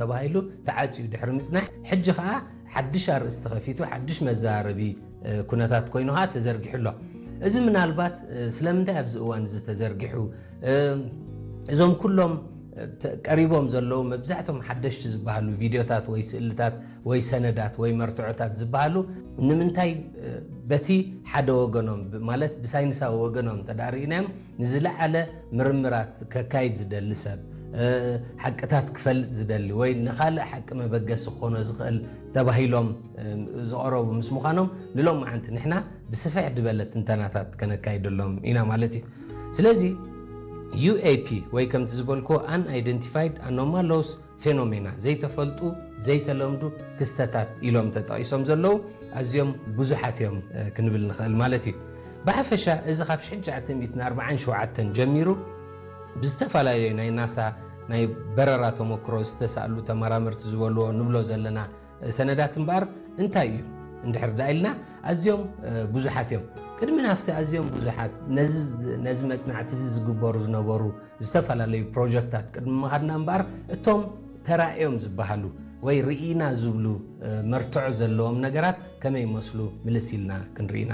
ተባሂሉ ተዓፅዩ ድሕሪ ምፅናሕ፣ ሕጂ ከዓ ሓድሽ ኣርእስቲ ከፊቱ ሓድሽ መዘራረቢ ኩነታት ኮይኑ ከዓ ተዘርጊሑ ኣሎ። እዚ ምናልባት ስለምንታይ ኣብዚ እዋን እዚ ተዘርጊሑ፣ እዞም ኩሎም ቀሪቦም ዘለዉ መብዛሕቶም ሓደሽቲ ዝበሃሉ ቪድዮታት ወይ ስእልታት ወይ ሰነዳት ወይ መርትዖታት ዝበሃሉ ንምንታይ በቲ ሓደ ወገኖም ማለት ብሳይንሳዊ ወገኖም እንተ ርኢናዮም ንዝለዓለ ምርምራት ከካይድ ዝደሊ ሰብ፣ ሓቅታት ክፈልጥ ዝደሊ ወይ ንኻልእ ሓቂ መበገሲ ክኾኖ ዝኽእል ተባሂሎም ዝቐረቡ ምስ ምዃኖም ንሎም መዓንቲ ንሕና ብስፍሕ ዝበለ ትንተናታት ከነካይደሎም ኢና ማለት እዩ። ስለዚ ዩኤፒ ወይ ከምቲ ዝበልኩ unidentified anomalous phenomena ዘይተፈልጡ ዘይተለምዱ ክስተታት ኢሎም ተጠቒሶም ዘለዉ ኣዝዮም ብዙሓት እዮም ክንብል ንኽእል ማለት እዩ። ብሓፈሻ እዚ ካብ ሽሕን ትሽዓተ ሚእትን ኣርባዓን ሸውዓተን ጀሚሩ ብዝተፈላለዩ ናይ ናሳ ናይ በረራ ተመክሮ ዝተሳእሉ ተመራመርቲ ዝበልዎ ንብሎ ዘለና ሰነዳት እምበኣር እንታይ እዩ እንድሕር ዳ ኢልና ኣዝዮም ብዙሓት እዮም። ቅድሚ ናፍቲ ኣዝዮም ብዙሓት ነዚ መፅናዕቲ እዚ ዝግበሩ ዝነበሩ ዝተፈላለዩ ፕሮጀክታት ቅድሚ ምኻድና እምበኣር እቶም ተራእዮም ዝበሃሉ ወይ ርኢና ዝብሉ መርትዖ ዘለዎም ነገራት ከመይ ይመስሉ ምልስ ኢልና ክንርኢና።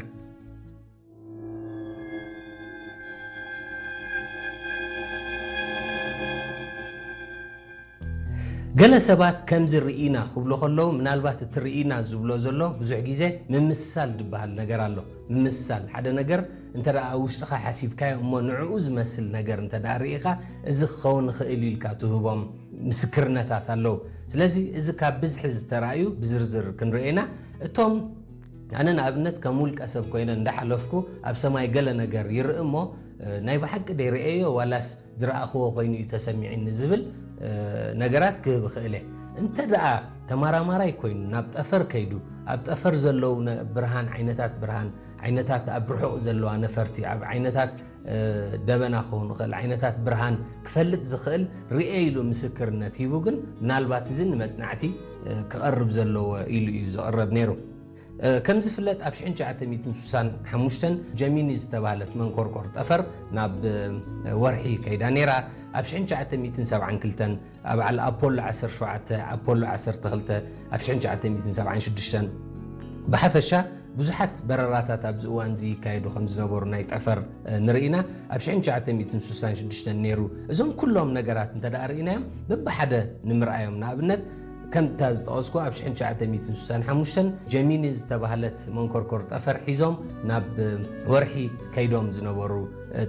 ገለ ሰባት ከምዚ ርኢና ክብሉ ከለዉ ምናልባት እቲ ርኢና ዝብሎ ዘሎ ብዙሕ ግዜ ምምስሳል ዝበሃል ነገር ኣሎ። ምምስሳል ሓደ ነገር እንተ ደኣ ኣብ ውሽጥኻ ሓሲብካዮ እሞ ንዕኡ ዝመስል ነገር እንተ ደኣ ርኢኻ እዚ ክኸውን ይኽእል ኢልካ ትህቦም ምስክርነታት ኣለዉ። ስለዚ እዚ ካብ ብዝሒ ዝተራእዩ ብዝርዝር ክንርኤና እቶም ኣነ ንኣብነት ከም ውልቀ ሰብ ኮይነ እንዳሓለፍኩ ኣብ ሰማይ ገለ ነገር ይርኢ እሞ ናይ ብሓቂ ደይርእየዮ ዋላስ ዝረኣኽዎ ኮይኑ እዩ ተሰሚዒኒ ዝብል ነገራት ክህብ እኽእል እየ። እንተ ደኣ ተመራማራይ ኮይኑ ናብ ጠፈር ከይዱ ኣብ ጠፈር ዘለዉ ብርሃን ዓይነታት ብርሃን ዓይነታት ኣብ ርሑቕ ዘለዋ ነፈርቲ ኣብ ዓይነታት ደበና ክኸውን ይኽእል ዓይነታት ብርሃን ክፈልጥ ዝኽእል ርኤ ኢሉ ምስክርነት ሂቡ ግን ምናልባት እዚ ንመፅናዕቲ ክቐርብ ዘለዎ ኢሉ እዩ ዝቐረብ ነይሩ። ከም ዝፍለጥ ኣብ ሽሕን ትሽዓተ ሚእትን ስሳን ሓሙሽተን ጀሚኒ ዝተባህለት መንኮርኮር ጠፈር ናብ ወርሒ ከይዳ ነይራ። ኣብ ሽሕን ትሽዓተ ሚእትን ሰብዓን ክልተን ኣብ በዓል ኣፖሎ ዓሰርተ ሸውዓተ ኣፖሎ ዓሰርተ ክልተ ኣብ ሽሕን ትሽዓተ ሚእትን ሰብዓን ሽዱሽተን ብሓፈሻ ብዙሓት በረራታት ኣብዚ እዋን እዚ ይካየዱ ከም ዝነበሩ ናይ ጠፈር ንርኢና ኣብ ሽሕን ትሽዓተ ሚእትን ስሳን ሽዱሽተን ነይሩ። እዞም ኩሎም ነገራት እንተ ደኣ ርኢናዮም በብሓደ ንምርኣዮም ንኣብነት ከምታ ዝጠቐስኩ ኣብ ሽሕን ትሽዓተ ሚእትን ስሳን ሓሙሽተን ጀሚኒ ዝተባህለት መንኮርኮር ጠፈር ሒዞም ናብ ወርሒ ከይዶም ዝነበሩ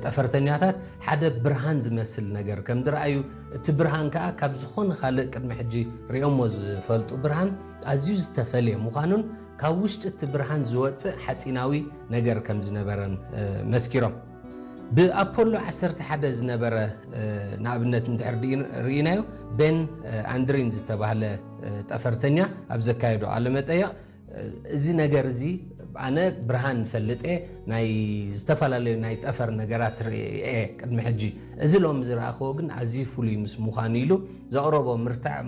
ጠፈርተኛታት ሓደ ብርሃን ዝመስል ነገር ከም ዝረኣዩ እቲ ብርሃን ከዓ ካብ ዝኾነ ካልእ ቅድሚ ሕጂ ሪኦሞ ዝፈልጡ ብርሃን ኣዝዩ ዝተፈለየ ምዃኑን ካብ ውሽጢ እቲ ብርሃን ዝወፅእ ሓፂናዊ ነገር ከም ዝነበረን መስኪሮም። ብኣፖሎ ዓሰርተ ሓደ ዝነበረ ንኣብነት እንድሕር ርኢናዮ ቤን ኣንድሪን ዝተባህለ ጠፈርተኛ ኣብ ዘካየዶ ቃለመጠየቕ እዚ ነገር እዚ ኣነ ብርሃን ፈልጥ እየ ናይ ዝተፈላለዩ ናይ ጠፈር ነገራት ርእየ ቅድሚ ሕጂ እዚ ሎም ዝረኣኽዎ ግን ኣዝዩ ፍሉይ ምስ ምዃኑ ኢሉ ዘቕረቦ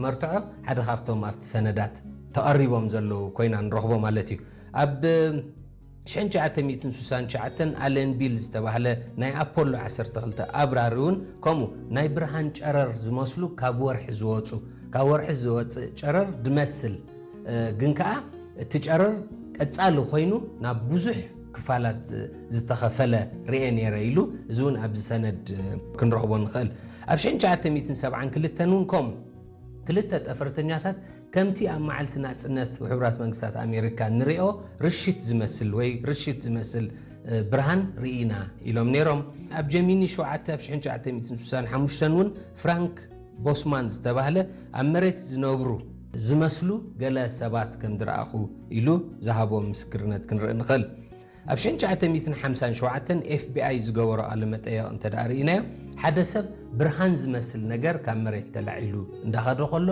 መርትዖ ሓደ ካብቶም ኣብቲ ሰነዳት ተቐሪቦም ዘለዉ ኮይና ንረኽቦ ማለት እዩ። ኣብ ሽሕን ትሽዓተ ሚእትን ስሳን ትሽዓተን ኣለን ቢል ዝተባህለ ናይ ኣፖሎ ዓሰርተ ክልተ ኣብራሪ እውን ከምኡ ናይ ብርሃን ጨረር ዝመስሉ ካብ ወርሒ ዝወፁ ካብ ወርሒ ዝወፅእ ጨረር ድመስል ግን ከዓ እቲ ጨረር ቀፃሊ ኮይኑ ናብ ብዙሕ ክፋላት ዝተኸፈለ ርኤ ነይረ ኢሉ እዚ እውን ኣብዚ ሰነድ ክንረኽቦ ንኽእል። ኣብ ሽሕን ትሽዓተ ሚእትን ሰብዓን ክልተን እውን ከምኡ ክልተ ጠፈርተኛታት ከምቲ ኣብ መዓልቲ ናጽነት ውሕብራት መንግስታት ኣሜሪካ ንሪኦ ርሽት ዝመስል ወይ ርሽት ዝመስል ብርሃን ርኢና ኢሎም ነይሮም። ኣብ ጀሚኒ ሸውዓተ ኣብ ሽሕን ትሽዓተ ሚእትን ስሳን ሓሙሽተን እውን ፍራንክ ቦስማን ዝተባህለ ኣብ መሬት ዝነብሩ ዝመስሉ ገለ ሰባት ከም ዝረኣኹ ኢሉ ዝሃቦ ምስክርነት ክንርኢ ንኽእል። ኣብ ሽሕን ትሽዓተ ሚእትን ሓምሳን ሸውዓተን ኤፍቢኣይ ዝገበሮ ቃለ መጠየቕ እንተ ደኣ ርኢናዮ ሓደ ሰብ ብርሃን ዝመስል ነገር ካብ መሬት ተላዒሉ እንዳኸደ ከሎ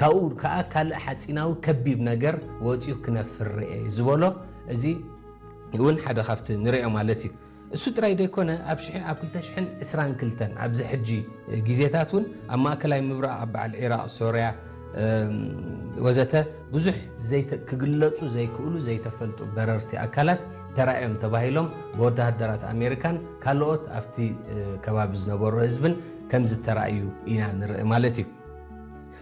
ካብኡ ከዓ ካልእ ሓፂናዊ ከቢብ ነገር ወፂኡ ክነፍር ርኤ ዝበሎ እዚ እውን ሓደ ካብቲ ንሪኦ ማለት እዩ። እሱ ጥራይ ዘይኮነ ኣብ ሽሕ ኣብ ክልተ ሽሕን ዕስራን ክልተን ኣብዚ ሕጂ ግዜታት እውን ኣብ ማእከላይ ምብራቕ ኣብ በዓል ዒራቕ ሶርያ ወዘተ ብዙሕ ክግለጹ ዘይክእሉ ዘይተፈልጡ በረርቲ ኣካላት ተራእዮም ተባሂሎም ብወተሃደራት ኣሜሪካን ካልኦት ኣብቲ ከባቢ ዝነበሩ ህዝብን ከም ዝተራእዩ ኢና ንርኢ ማለት እዩ።